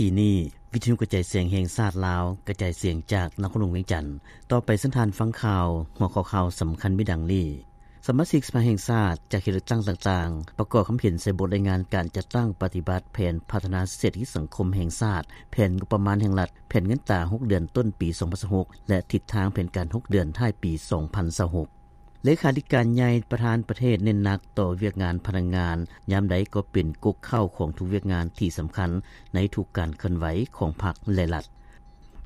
ທີ່ນີ້ ວິທຍຸກະຈາຍສຽງແຫ່ງຊາດລາວ ກະຈາຍສຽງຈາກນະຄອນຫຼວງວຽງຈັນ. ຕໍ່ໄປເຊີນທ່ານຟັງຂ່າວ. ຫົວຂໍ້ຂ່າວສຳຄັນມີດັ່ງນີ້: ສະມາຊິກສະພາແຫ່ງຊາດຈາກເຂດເລືອກຕັ້ງຕ່າງໆ ປະກອບຄຳເຫັນໃສ່ບົດລາຍງານການຈັດຕັ້ງປະຕິບັດແຜນພັດທະນາເສດຖະກິດສັງຄົມແຫ່ງຊາດ, ແຜນງົບປະມານແຫ່ງລັດ, ແຜນເງິນຕາຫົກເດືອນຕົ້ນປີສອງພັນຊາວຫົກ ແລະ ທິດທາງແຜນການຫົກເດືອນທ້າຍປີສອງພັນຊາວຫົກ. ເລຂາທິການໃຫຍ່ປະທານປະເທດເນັ້ນໜັກຕໍ່ວຽກງານພະນັກງານ, ຍາມໃດກໍເປັນກົກເຄົ້າຂອງທຸກວຽກງານທີ່ສຳຄັນໃນທຸກການເຄື່ອນໄຫວຂອງພັກ ແລະ ລັດ.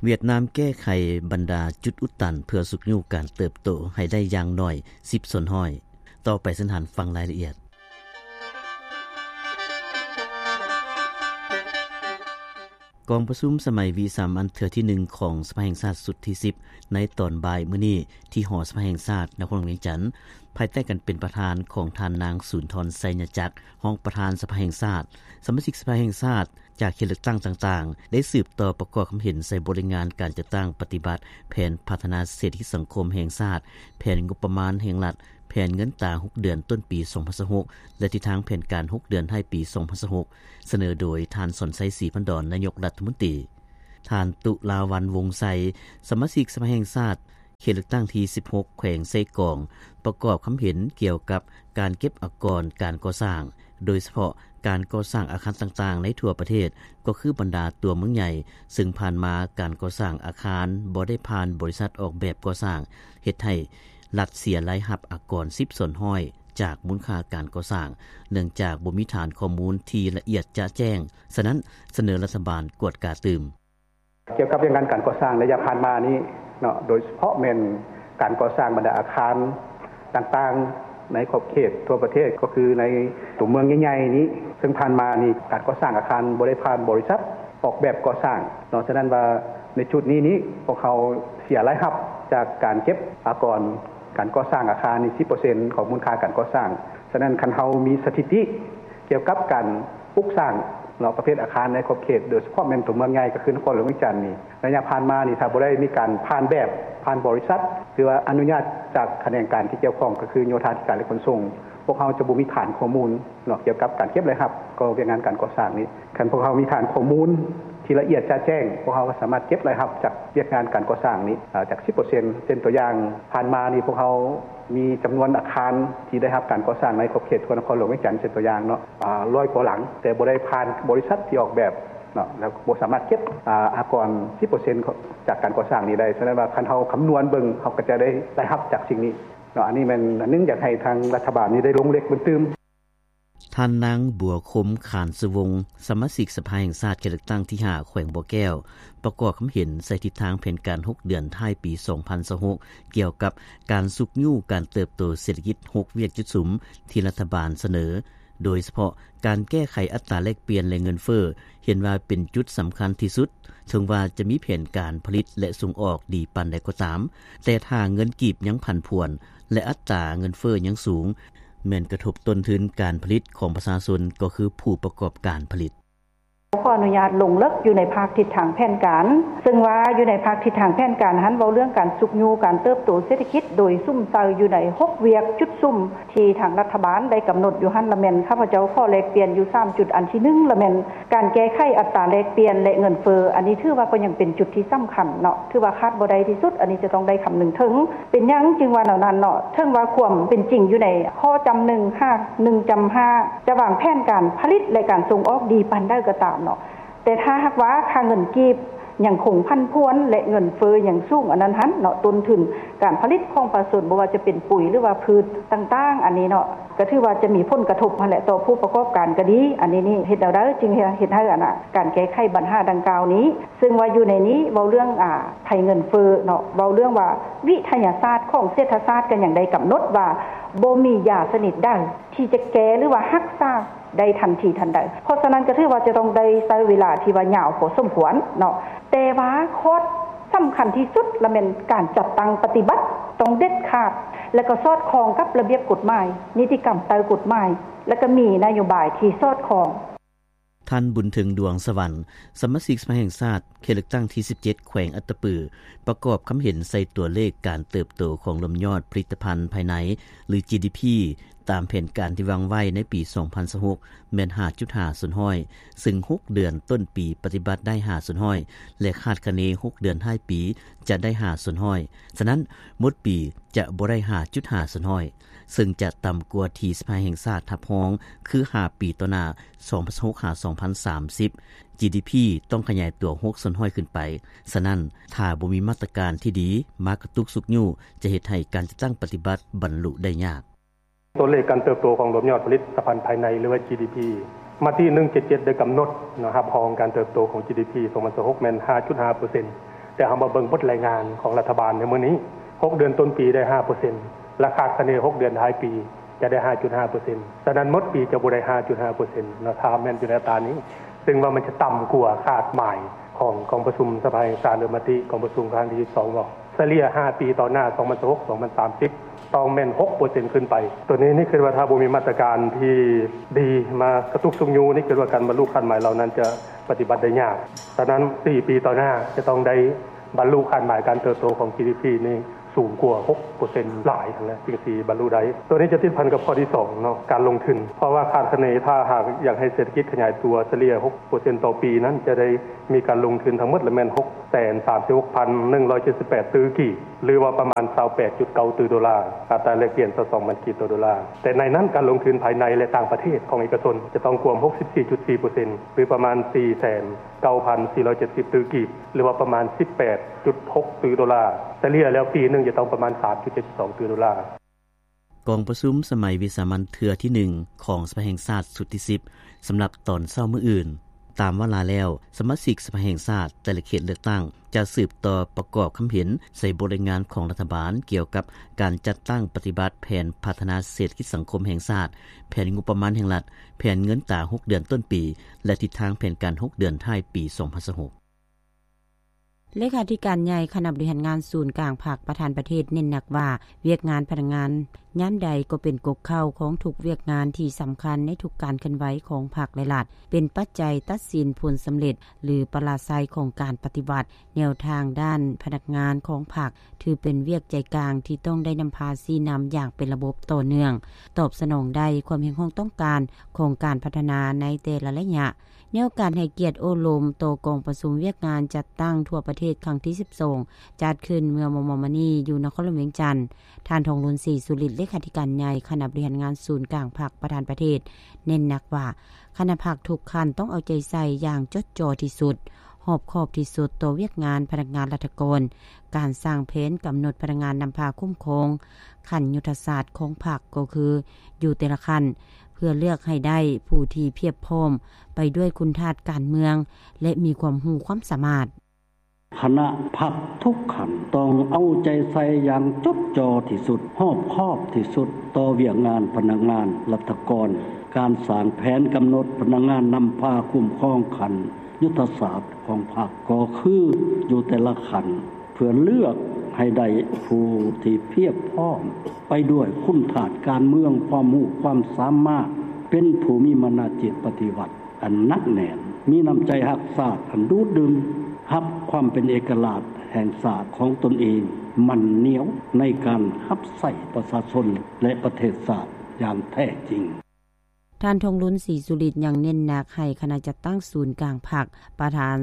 ຫວຽດນາມແກ້ໄຂບັນດາຈຸດອຸດຕັນເພື່ອຊຸກຍູ້ການເຕີບໂຕໃຫ້ໄດ້ຢ່າງໜ້ອຍສິບສ່ວນຮ້ອຍ. ຕໍ່ໄປເຊີນທ່ານຟັງລາຍລະອຽດ. ກອງປະຊຸມສະໄໝວິສາມັນເທື່ອທີໜຶ່ງຂອງສະພາແຫ່ງຊາດຊຸດທີສິບ ໃນຕອນບ່າຍມື້ນີ້ ທີ່ຫໍສະພາແຫ່ງຊາດ ນະຄອນຫຼວງວຽງຈັນ, ພາຍໃຕ້ການເປັນປະທານຂອງທ່ານນາງ ສູນທອນ ໄຊຍະຈັກ ຮອງປະທານສະພາແຫ່ງຊາດ, ສະມາຊິກສະພາແຫ່ງຊາດຈາກເຂດເລືອກຕັ້ງຕ່າງໆ ໄດ້ສືບຕໍ່ປະກອບຄຳເຫັນໃສ່ບົດລາຍງານການຈັດຕັ້ງປະຕິບັດແຜນພັດທະນາເສດຖະກິດສັງຄົມແຫ່ງຊາດ, ແຜນງົບປະມານແຫ່ງລັດ, ແຜນເງິນຕາຫົກເດືອນຕົ້ນປີສອງພັນຊາວຫົກ ແລະ ທິດທາງແຜນການຫົກເດືອນທ້າຍປີສອງພັນຊາວຫົກ ສະເໜີໂດຍທ່ານ ສອນໄຊ ສີພັນດອນ ນາຍົກລັດຖະມົນຕີ, ທ່ານ ຕຸລາວັນ ວົງໄຊ ສະມາຊິກສະພາແຫ່ງຊາດ ເຂດເລືອກຕັ້ງທີສິບຫົກ ແຂວງເຊກອງ ປະກອບຄຳເຫັນກ່ຽວກັບການເກັບອາກອນການກໍ່ສ້າງ, ໂດຍສະເພາະການກໍ່ສ້າງອາຄານຕ່າງໆໃນທົ່ວປະເທດ, ກໍຄືບັນດາຕົວເມືອງໃຫຍ່, ເຊິ່ງຜ່ານມາການກໍ່ສ້າງອາຄານບໍ່ໄດ້ຜ່ານບໍລິສັດອອກແບບກໍ່ສ້າງ, ເຮັດໃຫ້ລັດເສຍລາຍຮັບອາກອນສິບສ່ວນຮ້ອຍຈາກມູນຄ່າການກໍ່ສ້າງ, ເນື່ອງຈາກບໍ່ມີຖານຂໍ້ມູນທີ່ລະອຽດຈະແຈ້ງ, ສະນັ້ນ ສະເໜີລັດຖະບານກວດກາຕື່ມ. ກ່ຽວກັບວຽກງານການກໍ່ສ້າງໄລຍະຜ່ານມານີ້ເນາະ, ໂດຍສະເພາະແມ່ນການກໍ່ສ້າງບັນດາອາຄານຕ່າງໆ ໃນຂອບເຂດທົ່ວປະເທດ, ກໍຄືໃນຕົວເມືອງໃຫຍ່ໆນີ້, ເຊິ່ງຜ່ານມານີ້ການກໍ່ສ້າງອາຄານບໍ່ໄດ້ຜ່ານບໍລິສັດອອກແບບກໍ່ສ້າງເນາະ. ສະນັ້ນວ່າໃນຈຸດນີ້ນີ້ ພວກເຮົາເສຍລາຍຮັບຈາກການເກັບອາກອນການກໍ່ສ້າງອາຄານນີ້ສິບເປີເຊັນຂອງມູນຄ່າການກໍ່ສ້າງ. ສະນັ້ນຄັນເຮົາມີສະຖິຕິ ກ່ຽວກັບການປຸກສ້າງເນາະ ປະເພດອາຄານໃນຂອບເຂດ ໂດຍສະເພາະແມ່ນຕົວເມືອງໃຫຍ່ ກໍຄືນະຄອນຫຼວງວຽງຈັນນີ້, ໄລຍະຜ່ານມານີ້ ຖ້າບໍ່ໄດ້ມີການຜ່ານແບບ ຜ່ານບໍລິສັດ ຫຼືວ່າອະນຸຍາດຈາກຂະແໜງການທີ່ກ່ຽວຂ້ອງ ກໍຄືໂຍທາທິການ ແລະ ຂົນສົ່ງ, ພວກເຮົາຈະບໍ່ມີຖານຂໍ້ມູນເນາະ ກ່ຽວກັບການເກັບລາຍຮັບຕໍ່ວຽກງານການກໍ່ສ້າງນີ້. ຄັນພວກເຮົາມີຖານຂໍ້ມູນທີ່ລະອຽດຈະແຈ້ງ, ພວກເຮົາກໍສາມາດເກັບລາຍຮັບຈາກວຽກງານການກໍ່ສ້າງນີ້ ເອີ ຈາກສິບເປີເຊັນ. ເຊັ່ນຕົວຢ່າງ, ຜ່ານມານີ້ພວກເຮົາ ມີຈຳນວນອາຄານທີ່ໄດ້ຮັບການກໍ່ສ້າງໃນຂອບເຂດທົ່ວນະຄອນຫຼວງວຽງຈັນ ເຊັ່ນຕົວຢ່າງເນາະ, ອາ ຮ້ອຍກວ່າຫຼັງ, ແຕ່ບໍ່ໄດ້ຜ່ານບໍລິສັດທີ່ອອກແບບເນາະ, ແລ້ວບໍ່ສາມາດເກັບ ອາ ອາກອນສິບເປີເຊັນຈາກການກໍ່ສ້າງນີ້ໄດ້. ສະນັ້ນວ່າຄັນເຮົາຄຳນວນເບິ່ງ, ເຮົາກໍຈະໄດ້ລາຍຮັບຈາກສິ່ງນີ້ເນາະ. ອັນນີ້ແມ່ນອັນໜຶ່ງ ຢາກໃຫ້ທາງລັດຖະບານນີ້ໄດ້ລົງເຫຼັກເບິ່ງຕື່ມ. ທ່ານນາງ ບົວຄົມ ຂານສຸວົງ ສະມາຊິກສະພາແຫ່ງຊາດເຂດເລືອກຕັ້ງທີຫ້າ ແຂວງບໍ່ແກ້ວ ປະກອບຄຳເຫັນໃສ່ທິດທາງແຜນການຫົກເດືອນທ້າຍປີສອງພັນຊາວຫົກ ກ່ຽວກັບການຊຸກຍູ້ການເຕີບໂຕເສດຖະກິດຫົກວຽກຈຸດສຸມທີ່ລັດຖະບານສະເໜີ, ໂດຍສະເພາະການແກ້ໄຂອັດຕາແລກປ່ຽນ ແລະ ເງິນເຟີ້ ເຫັນວ່າເປັນຈຸດສຳຄັນທີ່ສຸດ. ເຖິງວ່າຈະມີແຜນການຜະລິດ ແລະ ສົ່ງອອກດີປານໃດກໍຕາມ, ແຕ່ຖ້າເງິນກີບຍັງຜັນຜວນ ແລະ ອັດຕາເງິນເຟີ້ຍັງສູງ, ແມ່ນກະທົບຕົ້ນທຶນການຜະລິດຂອງປະຊາຊົນ ກໍຄືຜູ້ປະກອບການຜະລິດ. ຂໍອະນຸຍາດລົງເລິກຢູ່ໃນພາກທິດທາງແຜນການ, ເຊິ່ງວ່າຢູ່ໃນພາກທິດທາງແຜນການຫັ້ນ ເວົ້າເລື່ອງການຊຸກຍູ້ການເຕີບໂຕເສດຖະກິດ ໂດຍສຸມໃສ່ຢູ່ໃນຫົກວຽກຈຸດສຸມ ທີ່ທາງລັດຖະບານໄດ້ກຳນົດຢູ່ຫັ້ນລະແມ່ນ ຂ້າພະເຈົ້າຂໍແລກປ່ຽນຢູ່ສາມຈຸດ. ອັນທີໜຶ່ງລະແມ່ນການແກ້ໄຂອັດຕາແລກປ່ຽນ ແລະ ເງິນເຟີ້, ອັນນີ້ຖືວ່າກໍຍັງເປັນຈຸດທີ່ສຳຄັນເນາະ, ຖືວ່າຂາດບໍ່ໄດ້ທີ່ສຸດ, ອັນນີ້ຈະຕ້ອງໄດ້ຄຳນຶງເຖິງ. ເປັນຫຍັງຈຶ່ງວ່າແນວນັ້ນເນາະ? ເຖິງວ່າຄວາມເປັນຈິງຢູ່ໃນຂໍ້ຈຳໜຶ່ງຫາ ໜຶ່ງຈຳຫ້າ ຈະວາງແຜນການຜະລິດ ແລະ ການສົ່ງອອກດີປານໃດກໍຕາມເນາະ, ແຕ່ຖ້າຫາກວ່າຄ່າເງິນກີບຍັງຄົງຜັນຜວນ ແລະ ເງິນເຟີ້ຍັງສູງ, ອັນນັ້ນຫັ້ນເນາະ, ຕົ້ນທຶນການຜະລິດຂອງປະຊາຊົນ ບໍ່ວ່າຈະເປັນປຸ໋ຍ ຫຼືວ່າພືດຕ່າງໆ ອັນນີ້ເນາະ, ກໍຖືວ່າຈະມີຜົນກະທົບຫັ້ນແຫຼະ ຕໍ່ຜູ້ປະກອບການກໍດີ. ອັນນີ້ນີ້ເຮັດແນວໃດຈຶ່ງເຮັດໃຫ້ອັນນະ ການແກ້ໄຂບັນຫາດັ່ງກ່າວນີ້, ເຊິ່ງວ່າຢູ່ໃນນີ້ເວົ້າເລື່ອງ ອາ ໄພເງິນເຟີ້ເນາະ, ເວົ້າເລື່ອງວ່າວິທະຍາສາດຂອງເສດຖະສາດກໍຍັງໄດ້ກຳນົດວ່າ ບໍ່ມີຢາຊະນິດໃດທີ່ຈະແກ້ ຫຼືວ່າຮັກສາ ໄດ້ທັນທີທັນໃດ. ເພາະສະນັ້ນກໍຖືວ່າຈະຕ້ອງໄດ້ໃຊ້ເວລາທີ່ວ່າຍາວພໍສົມຄວນເນາະ, ແຕ່ວ່າຂໍ້ສຳຄັນທີ່ສຸດລະແມ່ນການຈັດຕັ້ງປະຕິບັດຕ້ອງເດັດຂາດ ແລະ ກໍສອດຄ່ອງກັບລະບຽບກົດໝາຍ, ນິຕິກຳໃຕ້ກົດໝາຍ ແລະ ກໍມີນະໂຍບາຍທີ່ສອດຄ່ອງ. ທ່ານ ບຸນເຖິງ ດວງສະຫວັນ ສະມາຊິກສະພາແຫ່ງຊາດ ເຂດເລືອກຕັ້ງທີສິບເຈັດ ແຂວງອັດຕະປື ປະກອບຄຳເຫັນໃສ່ຕົວເລກການເຕີບໂຕຂອງລວມຍອດຜະລິດຕະພັນພາຍໃນ ຫຼື ຈີດີພີ ຕາມແຜນການທີ່ວາງໄວ້ໃນປີສອງພັນຊາວຫົກ ແມ່ນຫ້າຈຸດຫ້າສ່ວນຮ້ອຍ ຊຶ່ງຫົກເດືອນຕົ້ນປີປະຕິບັດໄດ້ຫ້າສ່ວນຮ້ອຍ ແລະ ຄາດຄະເນຫົກເດືອນທ້າຍປີຈະໄດ້ຫ້າສ່ວນຮ້ອຍ. ສະນັ້ນ ໝົດປີຈະບໍ່ໄດ້ຫ້າຈຸດຫ້າສ່ວນຮ້ອຍ ຊຶ່ງຈະຕ່ຳກວ່າທີ່ສະພາແຫ່ງຊາດຮັບຮອງ ຄືຫ້າປີຕໍ່ໜ້າ ສອງພັນຊາວຫົກ ຫາ ສອງພັນສາມສິບ ຈີດີພີ ຕ້ອງຂະຫຍາຍຕົວຫົກສ່ວນຮ້ອຍຂຶ້ນໄປ. ສະນັ້ນ ຖ້າບໍ່ມີມາດຕະການທີ່ດີມາກະຕຸກຊຸກຍູ້ ຈະເຮັດໃຫ້ການຈັດຕັ້ງປະຕິບັດບັນລຸໄດ້ຍາກ. ຕົວເລກການເຕີບໂຕຂອງລວມຍອດຜະລິດຕະພັນພາຍໃນ ຫຼືວ່າ ຈີດີພີ ມະຕິໜຶ່ງເຈັດເຈັດໄດ້ກຳນົດເນາະ ຮັບຮອງການເຕີບໂຕຂອງ ຈີດີພີ ສອງພັນຊາວຫົກ ແມ່ນຫ້າຈຸດຫ້າເປີເຊັນ ແຕ່ເຮົາມາເບິ່ງບົດລາຍງານຂອງລັດຖະບານໃນມື້ນີ້ ຫົກເດືອນຕົ້ນປີໄດ້ຫ້າເປີເຊັນ ແລະ ຄາດຄະເນຫົກເດືອນທ້າຍປີຈະໄດ້ຫ້າຈຸດຫ້າເປີເຊັນ. ສະນັ້ນໝົດປີຈະບໍ່ໄດ້ຫ້າຈຸດຫ້າເປີເຊັນເນາະ ຖ້າແມ່ນຢູ່ໃນອັດຕານີ້ ຊຶ່ງວ່າມັນຈະຕ່ຳກວ່າຄາດໝາຍຂອງກອງປະຊຸມສະພາແຫ່ງຊາດ ຫຼື ມະຕິກອງປະຊຸມຄັ້ງທີສິບສອງເນາະ. ສະເລ່ຍຫ້າປີຕໍ່ໜ້າ ສອງພັນຊາວຫົກ ສອງພັນສາມສິບ ຕ້ອງແມ່ນຫົກເປີເຊັນຂຶ້ນໄປ. ໂຕນີ້ນີ້ຄິດວ່າຖ້າບໍ່ມີມາດຕະການທີ່ດີມາກະຕຸກຊຸກຍູ້ນີ້ ຄິດວ່າການບັນລຸຄາດໝາຍເຫຼົ່ານັ້ນຈະປະຕິບັດໄດ້ຍາກ. ສະນັ້ນສີ່ປີຕໍ່ໜ້າຈະຕ້ອງໄດ້ບັນລຸຄາດໝາຍການເຕີບໂຕຂອງ ຈີດີພີ ນີ້ສູງກວ່າຫົກເປີເຊັນຫຼາຍຫັ້ນແຫຼະ ຈຶ່ງຊິບັນລຸໄດ້. ໂຕນີ້ຈະຕິດພັນກັບຂໍ້ທີສອງເນາະ ການລົງທຶນ ເພາະວ່າຄາດຄະເນຖ້າຫາກຢາກໃຫ້ເສດຖະກິດຂະຫຍາຍຕົວສະເລ່ຍຫົກເປີເຊັນຕໍ່ປີນັ້ນ ຈະໄດ້ມີການລົງທຶນທັງໝົດລະແມ່ນຫົກ ແສນສາມສິບຫົກພັນໜຶ່ງຮ້ອຍເຈັດສິບແປດຕື້ກີບ ຫຼືວ່າປະມານຊາວແປດຈຸດເກົ້າຕື້ໂດລາ, ອັດຕາແລກປ່ຽນຊາວສອງພັນກີບຕໍ່ໂດລາ. ແຕ່ໃນນັ້ນການລົງທຶນພາຍໃນ ແລະ ຕ່າງປະເທດຂອງເອກະຊົນຈະຕ້ອງກວມຫົກສິບສີ່ຈຸດສີ່ເປີເຊັນ ຫຼືປະມານສີ່ແສນເກົ້າພັນສີ່ຮ້ອຍເຈັດສິບຕື້ກີບ ຫຼືວ່າປະມານສິບແປດຈຸດຫົກຕື້ໂດລາ. ສະເລ່ຍແລ້ວປີໜຶ່ງຈະຕ້ອງປະມານສາມຈຸດເຈັດສອງຕື້ໂດລາ. ກອງປະຊຸມສະໄໝວິສາມັນເທື່ອທີໜຶ່ງຂອງສະພາແຫ່ງຊາດຊຸດທີສິບ ສຳລັບຕອນເຊົ້າມື້ອື່ນ. ຕາມວາລະແລ້ວ, ສະມາຊິກສະພາແຫ່ງຊາດແຕ່ລະເຂດເລືອກຕັ້ງ ຈະສືບຕໍ່ປະກອບຄຳເຫັນໃສ່ບົດລາຍງານຂອງລັດຖະບານ ກ່ຽວກັບການຈັດຕັ້ງປະຕິບັດແຜນພັດທະນາເສດຖະກິດສັງຄົມແຫ່ງຊາດ, ແຜນງົບປະມານແຫ່ງລັດ, ແຜນເງິນຕາຫົກເດືອນຕົ້ນປີ ແລະ ທິດທາງແຜນການຫົກເດືອນທ້າຍປີສອງພັນຊາວຫົກ. ເລຂາທິການໃຫຍ່ຄະນະບໍລິຫານງານສູນກາງພັກ ປະທານປະເທດ ເນັ້ນໜັກວ່າ ວຽກງານພະນັກງານຍາມໃດກໍເປັນກົກເຄົ້າຂອງທຸກວຽກງານທີ່ສຳຄັນໃນທຸກການເຄື່ອນໄຫວຂອງພັກ ແລະ ລັດ, ເປັນປັດໄຈຕັດສິນຜົນສຳເລັດ ຫຼື ປະລາໄຊຂອງການປະຕິບັດ. ແນວທາງດ້ານພະນັກງານຂອງພັກ ຖືເປັນວຽກໃຈກາງທີ່ຕ້ອງໄດ້ນຳພາຊີ້ນຳຢ່າງເປັນລະບົບຕໍ່ເນື່ອງ, ຕອບສະໜອງໄດ້ຄວາມຮຽກຮ້ອງຕ້ອງການຂອງການພັດທະນາໃນແຕ່ລະໄລຍະ. ໃນໂອກາດໃຫ້ກຽດໂອ້ລົມຕໍ່ກອງປະຊຸມວຽກງານຈັດຕັ້ງທົ່ວປະເທດຄັ້ງທີສິບສອງ ຈັດຂຶ້ນເມື່ອມໍ່ໆມານີ້ຢູ່ນະຄອນຫຼວງວຽງຈັນ, ທ່ານ ທອງລຸນ ສີສຸລິດ ເລຂາທິການໃຫຍ່ຄະນະບໍລິຫານງານສູນກາງພັກ ປະທານປະເທດ ເນັ້ນໜັກວ່າ ຄະນະພັກທຸກຂັ້ນຕ້ອງເອົາໃຈໃສ່ຢ່າງຈົດຈໍ່ທີ່ສຸດ, ຮອບຄອບທີ່ສຸດຕໍ່ວຽກງານພະນັກງານລັດຖະກອນ, ການສ້າງແຜນກຳນົດພະນັກງານນຳພາຄຸ້ມຄອງຂັ້ນຍຸດທະສາດຂອງພັກ ກໍຄືຢູ່ແຕ່ລະຂັ້ນ ເພື່ອເລືອກໃຫ້ໄດ້ຜູ້ທີ່ພຽບພ້ອມໄປດ້ວຍຄຸນທາດການເມືອງ ແລະ ມີຄວາມຮູ້ຄວາມສາມາດ. ຄະນະພັກທຸກຂັ້ນຕ້ອງເອົາໃຈໃສ່ຢ່າງຈົດຈໍ່ທີ່ສຸດ, ຮອບຄອບທີ່ສຸດຕໍ່ວຽກງານພະນັກງານລັດຖະກອນ. ການສ້າງແຜນກຳນົດພະນັກງານນຳພາຄຸ້ມຄອງຂັ້ນຍຸດທະສາດຂອງພັກ ກໍຄືຢູ່ແຕ່ລະຂັ້ນ ເພື່ອເລືອກໃຫ້ໄດ້ຜູ້ທີ່ພຽບພ້ອມໄປດ້ວຍຄຸນທາດການເມືອງ, ຄວາມຮູ້ຄວາມສາມາດ, ເປັນຜູ້ມີມານະຈິດປະຕິວັດອັນໜັກແໜ້ນ, ມີນ້ຳໃຈຮັກຊາດອັນດູດດື່ມ, ຮັບຄວາມເປັນເອກະລາດແຫ່ງຊາດຂອງຕົນເອງ, ໝັ້ນໜຽວໃນການຮັບໃຊ້ປະຊາຊົນ ແລະ ປະເທດຊາດຢ່າງແທ້ຈິງ. ທ່ານ ທອງລຸນ ສີສຸລິດ ຍັງເນັ້ນໜັກໃຫ້ຄະນະຈັດຕັ້ງສູນກາງພັກ, ປະທານ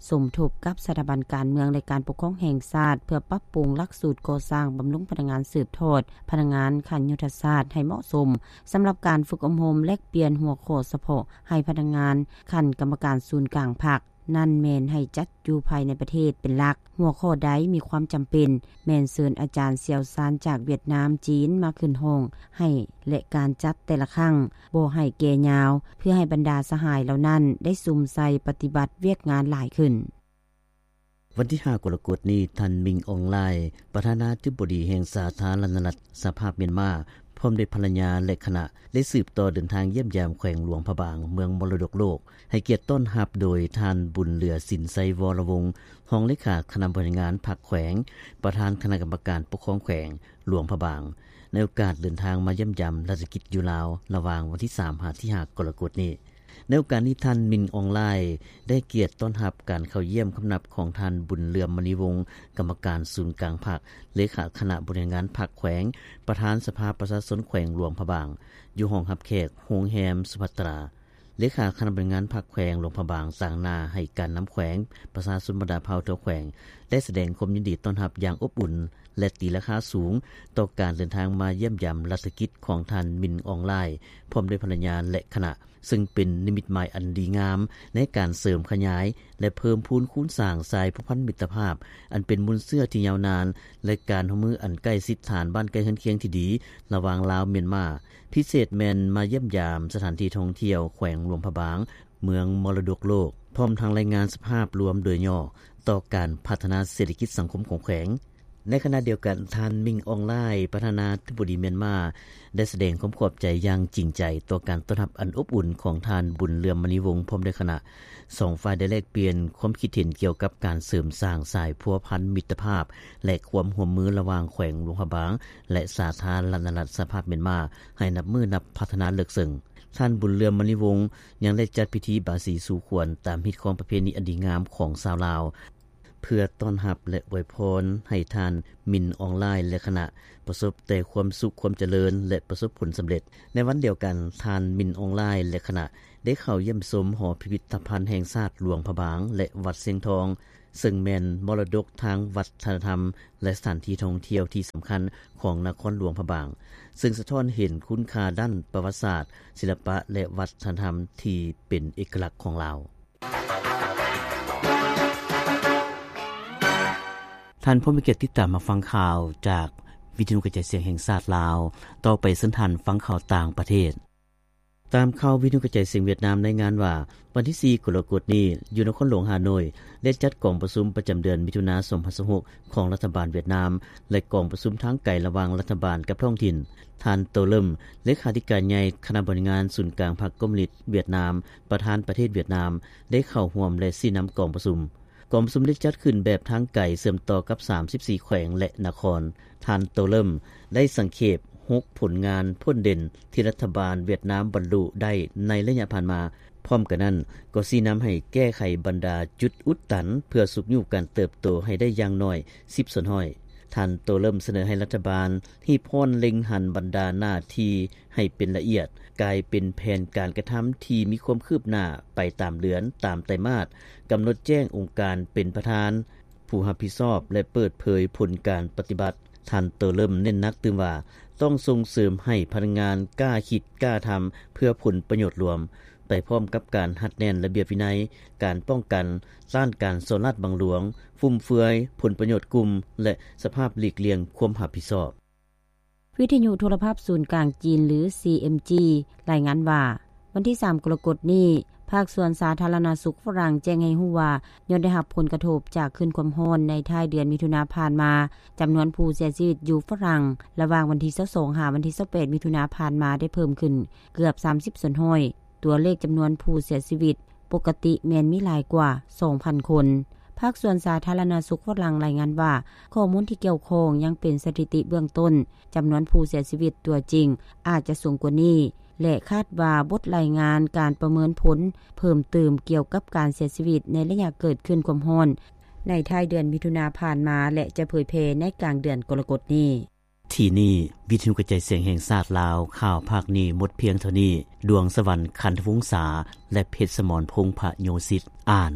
ສົມທົບກັບສະຖາບັນການເມືອງ ແລະ ການປົກຄອງແຫ່ງຊາດ ເພື່ອປັບປຸງຫຼັກສູດກໍ່ສ້າງບຳລຸງພະນັກງານສືບທອດພະນັກງານຂັ້ນຍຸດທະສາດໃຫ້ເໝາະສົມ. ສຳລັບການຝຶກອົບຮົມແລກປ່ຽນຫົວຂໍ້ສະເພາະໃຫ້ພະນັກງານຂັ້ນກຳມະການສູນກາງພັກ ນັ້ນແມ່ນໃຫ້ຈັດຢູ່ພາຍໃນປະເທດເປັນຫຼັກ. ຫົວຂໍ້ໃດມີຄວາມຈຳເປັນ ແມ່ນເຊີນອາຈານຊ່ຽວຊານຈາກຫວຽດນາມ, ຈີນ ມາຂຶ້ນຫ້ອງໃຫ້ ແລະ ການຈັດແຕ່ລະຄັ້ງບໍ່ໃຫ້ແກ່ຍາວ ເພື່ອໃຫ້ບັນດາສະຫາຍເຫຼົ່ານັ້ນໄດ້ສຸມໃສ່ປະຕິບັດວຽກງານຫຼາຍຂຶ້ນ. ວັນທີຫ້າ ກໍລະກົດນີ້, ທ່ານ ມິງ ອອງລາຍ ປະທານາທິບໍດີແຫ່ງສາທາລະນະລັດສະຫະພາບມຽນມາ ພ້ອມດ້ວຍພັນລະຍາ ແລະ ຄະນະ ໄດ້ສືບຕໍ່ເດີນທາງຢ້ຽມຢາມແຂວງຫຼວງພະບາງ ເມືອງມໍລະດົກໂລກ, ໃຫ້ກຽດຕ້ອນຮັບໂດຍທ່ານ ບຸນເຫຼືອສິນໄຊ ວໍລະວົງ ຮອງເລຂາຄະນະບໍລິຫານງານພັກແຂວງ, ປະທານຄະນະກຳມະການປົກຄອງແຂວງຫຼວງພະບາງ ໃນໂອກາດເດີນທາງມາຢ້ຽມຢາມລາຊະກິດຢູ່ລາວ ລະຫວ່າງວັນທີສາມ ຫາ ທີຫ້າ ກໍລະກົດນີ້. ໃນໂອກາດນີ້ ທ່ານ ມິນ ອອງລາຍ ໄດ້ກຽດຕ້ອນຮັບການເຂົ້າຢ້ຽມຄຳນັບຂອງທ່ານ ບຸນເຫຼື້ອມ ມະນີວົງ ກຳມະການສູນກາງພັກ, ເລຂາຄະນະບໍລິຫານງານພັກແຂວງ, ປະທານສະພາປະຊາຊົນແຂວງຫຼວງພະບາງ ຢູ່ຫ້ອງຮັບແຂກໂຮງແຮມສຸພັດຕາ. ເລຂາຄະນະບໍລິຫານງານພັກແຂວງຫຼວງພະບາງ ຕາງໜ້າໃຫ້ການນຳແຂວງ, ປະຊາຊົນບັນດາເຜົ່າທົ່ວແຂວງ ໄດ້ສະແດງຄວາມຍິນດີຕ້ອນຮັບຢ່າງອົບອຸ່ນ ແລະ ຕີລາຄາສູງຕໍ່ການເດີນທາງມາຢ້ຽມຢາມລັດຖະກິດຂອງທ່ານ ມິນ ອອງລາຍ ພ້ອມດ້ວຍພັນລະຍາ ແລະ ຄະນະ, ເຊິ່ງເປັນນິມິດໝາຍອັນດີງາມໃນການເສີມຂະຫຍາຍ ແລະ ເພີ່ມພູນຄູນສ້າງສາຍພົວພັນມິດຕະພາບ ອັນເປັນມູນເຊື້ອທີ່ຍາວນານ ແລະ ການຮ່ວມມືອັນໃກ້ຊິດຖານບ້ານໃກ້ເຮືອນຄຽງທີ່ດີ ລະຫວ່າງລາວ-ມຽນມາ, ພິເສດແມ່ນມາຢ້ຽມຢາມສະຖານທີ່ທ່ອງທ່ຽວແຂວງຫຼວງພະບາງ, ເມືອງມໍລະດົກໂລກ, ພ້ອມທັງລາຍງານສະພາບລວມໂດຍຫຍໍ້ຕໍ່ການພັດທະນາເສດຖະກິດສັງຄົມຂອງແຂວງ. ໃນຂະນະດຽວກັນ, ທ່ານ ມິນ ອອງລາຍ ປະທານາທິບໍດີມຽນມາ ໄດ້ສະແດງຄວາມຂອບໃຈຢ່າງຈິງໃຈຕໍ່ການຕ້ອນຮັບອັນອົບອຸ່ນຂອງທ່ານ ບຸນເຫຼື້ອມ ມະນີວົງ ພ້ອມດ້ວຍຄະນະ. ສອງຝ່າຍໄດ້ແລກປ່ຽນຄວາມຄິດເຫັນກ່ຽວກັບການເສີມສ້າງສາຍພົວພັນມິດຕະພາບ ແລະ ຄວາມຮ່ວມມືລະຫວ່າງແຂວງຫຼວງພະບາງ ແລະ ສາທາລະນະລັດສະຫະພາບມຽນມາ ໃຫ້ນັບມື້ນັບພັດທະນາເລິກເຊິ່ງ. ທ່ານ ບຸນເຫຼື້ອມ ມະນີວົງ ຍັງໄດ້ຈັດພິທີບາສີສູ່ຂວັນຕາມຮີດຄອງປະເພນີອັນດີງາມຂອງຊາວລາວ ເພື່ອຕ້ອນຮັບ ແລະ ອວຍພອນໃຫ້ທ່ານ ມິນ ອອງລາຍ ແລະ ຄະນະ ປະສົບແຕ່ຄວາມສຸກຄວາມຈະເລີນ ແລະ ປະສົບຜົນສຳເລັດ. ໃນວັນດຽວກັນ, ທ່ານ ມິນ ອອງລາຍ ແລະ ຄະນະ ໄດ້ເຂົ້າຢ້ຽມຊົມຫໍພິພິທະພັນແຫ່ງຊາດຫຼວງພະບາງ ແລະ ວັດຊຽງທອງ, ເຊິ່ງແມ່ນມໍລະດົກທາງວັດທະນະທຳ ແລະ ສະຖານທີ່ທ່ອງທ່ຽວທີ່ສຳຄັນຂອງນະຄອນຫຼວງພະບາງ, ເຊິ່ງສະທ້ອນເຫັນຄຸນຄ່າດ້ານປະຫວັດສາດ, ສິລະປະ ແລະ ວັດທະນະທຳທີ່ເປັນເອກະລັກຂອງລາວ. ທ່ານຜູ້ມີກຽດຕິດຕາມຮັບຟັງຂ່າວຈາກວິທະຍຸກະຈາຍສຽງແຫ່ງຊາດລາວ. ຕໍ່ໄປເຊີນທ່ານຟັງຂ່າວຕ່າງປະເທດ. ຕາມຂ່າວວິທະຍຸກະຈາຍສຽງຫວຽດນາມລາຍງານວ່າ, ວັນທີສີ່ ກໍລະກົດນີ້, ຢູ່ນະຄອນຫຼວງຮ່າໂນ້ຍ ໄດ້ຈັດກອງປະຊຸມປະຈຳເດືອນມິຖຸນາ ສອງພັນຊາວຫົກ ຂອງລັດຖະບານຫວຽດນາມ ແລະ ກອງປະຊຸມທາງໄກລະຫວ່າງລັດຖະບານກັບທ້ອງຖິ່ນ. ທ່ານ ໂຕເລິມ ເລຂາທິການໃຫຍ່ຄະນະບໍລິຫານງານສູນກາງພັກຄອມມູນິດຫວຽດນາມ, ປະທານປະເທດຫວຽດນາມ ໄດ້ເຂົ້າຮ່ວມ ແລະ ຊີ້ນຳກອງປະຊຸມ. ກອງປະຊຸມໄດ້ຈັດຂຶ້ນແບບທາງໄກເຊື່ອມຕໍ່ກັບສາມສິບສີ່ແຂວງ ແລະ ນະຄອນ. ທ່ານ ໂຕເລິມ ໄດ້ສັງເຂບຫົກຜົນງານພົ້ນເດັ່ນທີ່ລັດຖະບານຫວຽດນາມບັນລຸໄດ້ໃນໄລຍະຜ່ານມາ. ພ້ອມກັນນັ້ນ, ກໍຊີ້ນຳໃຫ້ແກ້ໄຂບັນດາຈຸດອຸດຕັນ ເພື່ອຊຸກຍູ້ການເຕີບໂຕໃຫ້ໄດ້ຢ່າງໜ້ອຍສິບສ່ວນຮ້ອຍ. ທ່ານ ໂຕເລິມ ສະເໜີໃຫ້ລັດຖະບານຮີບຮ້ອນເລັງຫັນບັນດາໜ້າທີ່ໃຫ້ເປັນລະອຽດ, ກາຍເປັນແຜນການກະທຳທີ່ມີຄວາມຄືບໜ້າໄປຕາມເດືອນ, ຕາມໄຕມາດ, ກຳນົດແຈ້ງອົງການເປັນປະທານ, ຜູ້ຮັບຜິດຊອບ ແລະ ເປີດເຜີຍຜົນການປະຕິບັດ. ທ່ານ ໂຕເລິມ ເນັ້ນໜັກຕື່ມວ່າ ຕ້ອງສົ່ງເສີມໃຫ້ພະນັກງານກ້າຄິດກ້າທຳເພື່ອຜົນປະໂຫຍດລວມ, ໄປພ້ອມກັບການຮັດແໜ້ນລະບຽບວິໄນ, ການປ້ອງກັນ, ຕ້ານການສໍ້ລາດບັງຫຼວງ, ຟຸມເຟືອຍ, ຜົນປະໂຫຍດກຸ່ມ ແລະ ສະພາບຫຼີກລ່ຽງຄວາມຮັບຜິດຊອບ. ວິທະຍຸໂທລະພາບສູນກາງຈີນ ຫຼື ຊີເອັມຈີ ລາຍງານວ່າ, ວັນທີສາມ ກໍລະກົດນີ້, ພາກສ່ວນສາທາລະນະສຸກຝຣັ່ງແຈ້ງໃຫ້ຮູ້ວ່າ, ຍ້ອນໄດ້ຮັບຜົນກະທົບຈາກຄື້ນຄວາມຮ້ອນໃນທ້າຍເດືອນມິຖຸນາຜ່ານມາ, ຈຳນວນຜູ້ເສຍຊີວິດຢູ່ຝຣັ່ງລະຫວ່າງວັນທີຊາວສອງ ຫາວັນທີຊາວແປດ ມິຖຸນາຜ່ານມາໄດ້ເພີ່ມຂຶ້ນເກືອບສາມສິບສ່ວນຮ້ອຍ. ຕົວເລກຈຳນວນຜູ້ເສຍຊີວິດປົກກະຕິແມ່ນມີຫຼາຍກວ່າສອງພັນຄົນ. ພາກສ່ວນສາທາລະນະສຸກຝຣັ່ງລາຍງານວ່າ, ຂໍ້ມູນທີ່ກ່ຽວຂ້ອງຍັງເປັນສະຖິຕິເບື້ອງຕົ້ນ, ຈຳນວນຜູ້ເສຍຊີວິດຕົວຈິງອາດຈະສູງກວ່ານີ້ ແລະ ຄາດວ່າບົດລາຍງານການປະເມີນຜົນເພີ່ມຕື່ມກ່ຽວກັບການເສຍຊີວິດໃນໄລຍະເກີດຄື້ນຄວາມຮ້ອນໃນທ້າຍເດືອນມິຖຸນາຜ່ານມາ ແລະ ຈະເຜີຍແຜ່ໃນກາງເດືອນກໍລະກົດນີ້. ທີ່ນີ້ ວິທະຍຸກະຈາຍສຽງແຫ່ງຊາດລາວ, ຂ່າວພາກນີ້ໝົດພຽງເທົ່ານີ້. ດວງສະຫວັນ ຄັນທະວົງສາ ແລະ ເພັດສະໝອນ ພົງພະໂຍສິດ ອ່ານ.